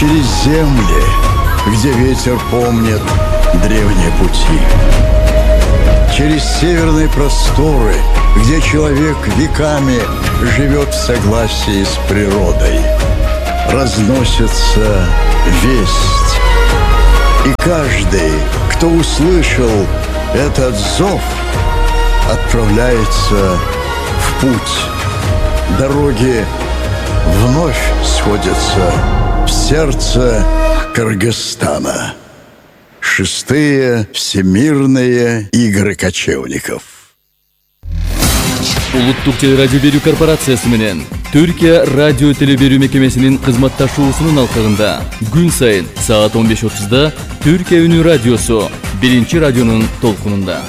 через земли, где ветер помнит древние пути. Через северные просторы, где человек веками живет в согласии с природой. Разносится весть. И каждый, кто услышал этот зов, отправляется в путь. Дороги вновь сходятся в сердце Кыргызстана. 6-е Всемирные игры кочевников. Улуттук телерадио берүү корпорациясы менен Түркия радио телеберүү мекемесинин кызматташуусунун алкагында күн сайын саат 15:30 Түркия үнү радиосу 1-радионун толкунунда.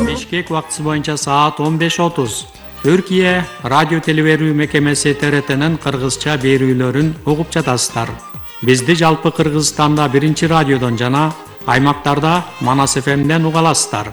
Бишкек убактысы боюнча саат 15:30 Түркия радио телеберүү мекемеси ТРТнын кыргызча берүүлөрүн угуп жатасыздар. Бизди жалпы Кыргызстанда 1-радиодон жана аймактарда Манас ФМден уга аласыздар.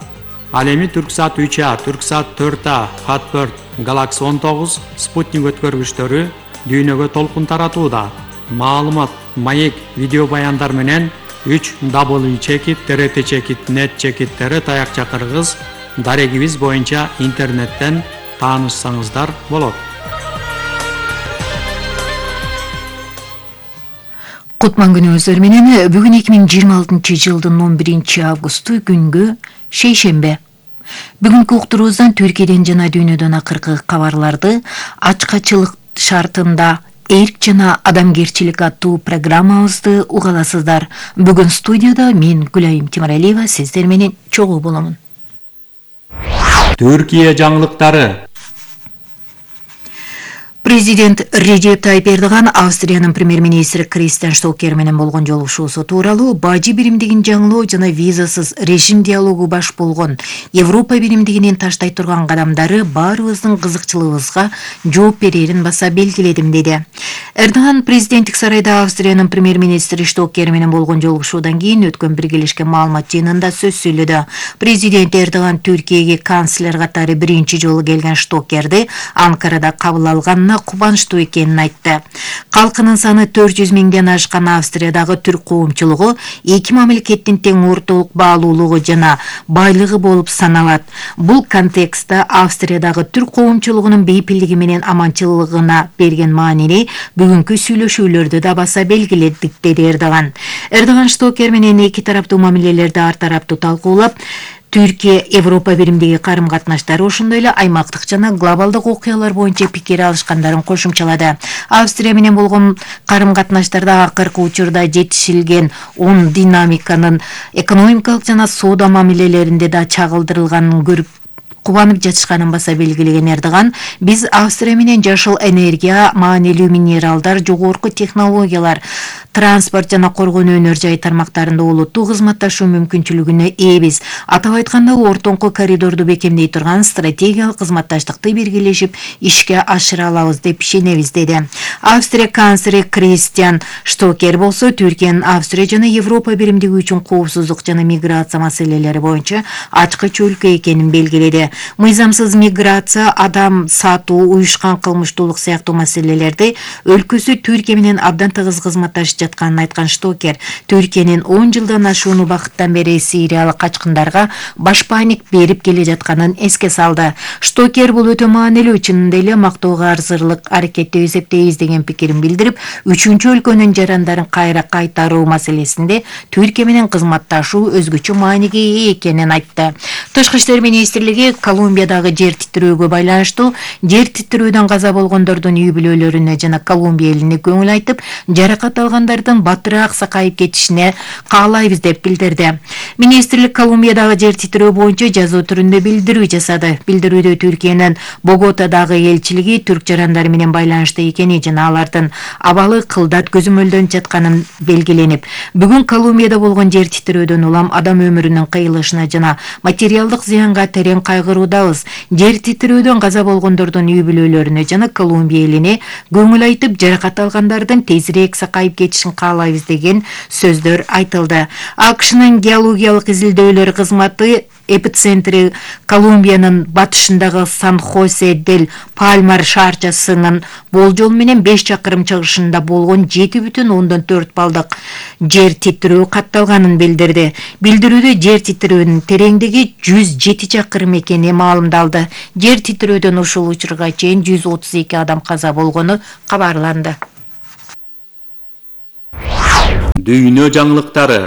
Ал эми Түрксат 3А, Түрксат 4А, Хат4, Галакси 19, Спутник өткөргүчтөрү дүйнөгө толкун таратууда. Маалымат, маек, видео баяндар менен 3w.trt.net таякча кыргыз дарегибиз боюнча интернеттен таанышсаңыздар болот. Кутман күнүңүздөр менен бүгүн 2026-жылдын 11-августу күнгү шейшембе. Бүгүнкү уктуруубуздан Түркияден жана дүйнөдөн акыркы кабарларды ачкачылык шартында эрк жана адамгерчилик аттуу программабызды угаласыздар. Бүгүн студияда мен Гүлайым Тимиралиева сиздер менен чогуу боломун. Түркия жаңылыктары. Президент Реджеп Тайип Эрдоган Австриянын премьер-министри Кристиан Штокер менен болгон жолугушуусу тууралуу бажы биримдигин жаңылоо жана визасыз режим диалогу баш болгон Европа биримдигинин таштай турган кадамдары баарыбыздын кызыкчылыгыбызга жооп берерин баса белгиледим деди. Эрдоган президенттик сарайда Австриянын премьер-министри Штокер менен болгон жолугушуудан кийин өткөн биргелешкен маалымат жыйынында сөз сүйлөдү. Президент Эрдоган Түркияга канцлер катары биринчи жолу келген Штокерди Анкарада кабыл алганына кубанычтуу экенин айтты. Калкынын саны 400 миңден ашкан Австриядагы түрк коомчулугу эки мамлекеттин тең ортолук баалуулугу жана байлыгы болуп саналат. Бул контекстте Австриядагы түрк коомчулугунун бейпилдиги менен аманчылыгына берген маанини бүгүнкү сүйлөшүүлөрдө да баса белгиледик, деди Эрдоган. Эрдоган Штокер менен эки тараптуу мамилелерди ар тараптуу талкуулап, Түркия Европа биримдиги карым-катнаштары ошондой эле аймактык жана глобалдык окуялар боюнча пикир алышкандарын кошумчалады. Австрия менен болгон карым-катнаштарда акыркы учурда жетишилген оң динамиканын экономикалык жана соода мамилелеринде да чагылдырылганын көрүп кубанып жатышканын баса белгилеген Эрдоган, биз Австрия менен жашыл энергия, маанилүү минералдар, жогорку технологиялар, транспорт жана коргонуу өнөр жай тармактарында олуттуу кызматташуу мүмкүнчүлүгүнө ээбиз. Атап айтканда, ортоңку коридорду бекемдей турган стратегиялык кызматташтыкты биргелешип ишке ашыра алабыз деп ишенебиз, деди. Австрия канцлери Кристиан Штокер болсо Түркиянын Австрия жана Европа биримдиги үчүн коопсуздук жана миграция маселелери боюнча ачкыч өлкө экенин белгиледи. Мыйзамсыз миграция, адам сатуу, уюшкан кылмыштуулук сыяктуу маселелерди өлкөсү Түркия менен абдан тыгыз кызматташып жатканын айткан Штокер, Түркиянын 10 жылдан ашуун убакыттан бери сириялык качкындарга башпаанник берип келе жатканын эске салды. Штокер бул өтө маанилүү, чынында эле мактоого арзырлык аракет деп эсептейбиз деген пикирин билдирип, үчүнчү өлкөнүн жарандарын кайра кайтаруу маселесинде Түркия менен кызматташуу өзгөчө мааниге ээ экенин айтты. Тышкы иштер министрлиги Колумбиядагы жер титирөөгө байланыштуу жер титирөөдөн каза болгондордун үй бүлөлөрүнө жана Колумбия элине көңүл айтып, жаракат алгандардын батыраак сакайып кетишине каалайбыз деп билдирди. Министрлик Колумбиядагы жер титирөө боюнча жазуу түрүндө билдирүү жасады. Билдирүүдө Түркиянын Боготадагы элчилиги түрк жарандары менен байланышта экени жана алардын абалы кылдат көзөмөлдөнүп жатканын белгиленип, бүгүн Колумбияда болгон жер титирөөдөн улам адам өмүрүнүн кыйылышына жана материалдык зыянга терең кайгыруудабыз. Жер титирөөдөн каза болгондордун үй бүлөлөрүнө жана Колумбия элине көңүл айтып, жаракат алгандардын тезирээк сакайып кетишин каалайбыз деген сөздөр айтылды. АКШнын геологиялык изилдөөлөр кызматы Эпицентри Колумбиянын батышындагы Сан-Хосе-дель-Пальмар шаарчасынын болжол менен 5 чакырым чыгышында болгон 7,4 балдык жер титирөө катталганын билдирди. Билдирүүдө жер титирөөнүн тереңдиги 107 чакырым экени маалымдалды. Жер титирөөдөн ушул учурга чейин 132 адам каза болгону кабарланды. Дүйнө жаңылыктары.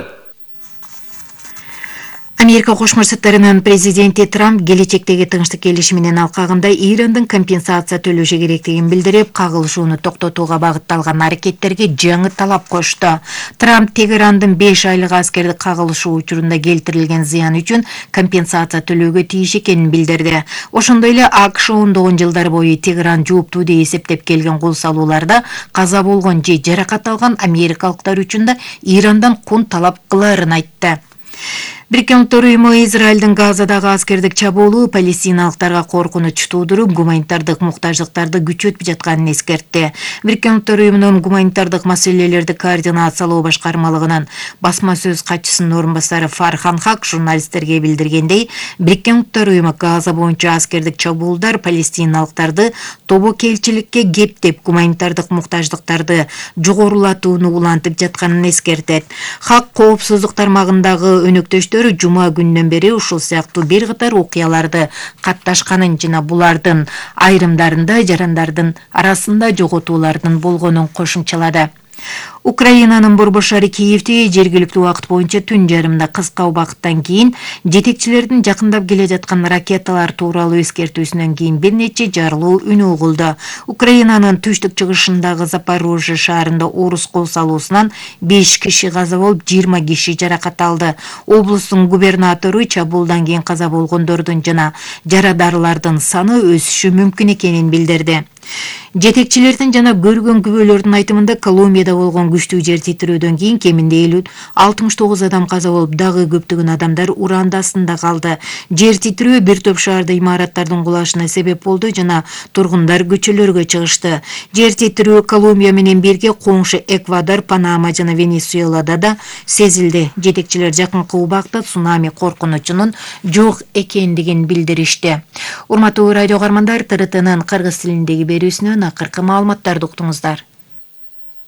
Америка Кошмо Штаттарынын президенти Трамп келечектеги тынчтык келишиминин алкагында Ирандын компенсация төлөшү керектигин билдирип, кагылышууну токтотууга багытталган аракеттерге жаңы талап кошту. Трамп Тегерандын 5 айлык аскердик кагылышуу учурунда келтирилген зыян үчүн компенсация төлөөгө тийиш экенин билдирди. Ошондой эле АКШ ондогон жылдар бою Тегеран жооптуу деп эсептеп келген кол салууларда каза болгон же жаракат алган америкалыктар үчүн да Ирандан кун талап кыларын айтты. Бириккен Улуттар уюму Израилдин Газадагы аскердик чабуулу палестиналыктарга коркунуч туудуруп, гуманитардык муктаждыктарды күчөтүп жатканын эскертти. Бириккен Улуттар уюмунун гуманитардык маселелерди координациялоо башкармалыгынын басма сөз катчысынын орун басары Фархан Хак журналисттерге билдиргендей, Бириккен Улуттар уюму Газа боюнча аскердик чабуулдар палестиналыктарды тобокелчиликке кептеп, гуманитардык муктаждыктарды жогорулатууну улантып жатканын эскертет. Хак коопсуздук тармагындагы өнөктөштөр жума күнүнөн бери ушул сыяктуу бир катар окуяларды катташканын жана булардын айрымдарында жарандардын арасында жоготуулардын болгонун кошумчалады. Украинанын борбор шаары Киевде жергиликтүү убакыт боюнча түн жарымда кыска убакыттан кийин жетекчилердин жакындап келе жаткан ракеталар тууралуу эскертүүсүнөн кийин бир нече жарылуу үнү угулду. Украинанын түштүк чыгышындагы Запорожье шаарында орус кол салуусунан 5 киши каза болуп, 20 киши жаракат алды. Облустун губернатору чабуулдан кийин каза болгондордун жана жарадарлардын саны өсүшү мүмкүн экенин билдирди. Жетекчилердин жана көргөн күбөлөрдүн айтымында Колумбияда болгон күчтүү жер титирөөдөн кийин кеминде 69 адам каза болуп, дагы көптөгөн адамдар уран астында калды. Жер титирөө бир топ шаарда имараттардын кулашына себеп болду жана тургундар көчөлөргө чыгышты. Жер титирөө Колумбия менен бирге коңшу Эквадор, Панама жана Венесуэлада да сезилди. Жетекчилер жакынкы убакта цунами коркунучунун жок экендигин билдиришти. Урматтуу радио каармандар, ТРТнын кыргыз тилиндеги берүүсүнөн акыркы маалыматтарды уктуңуздар.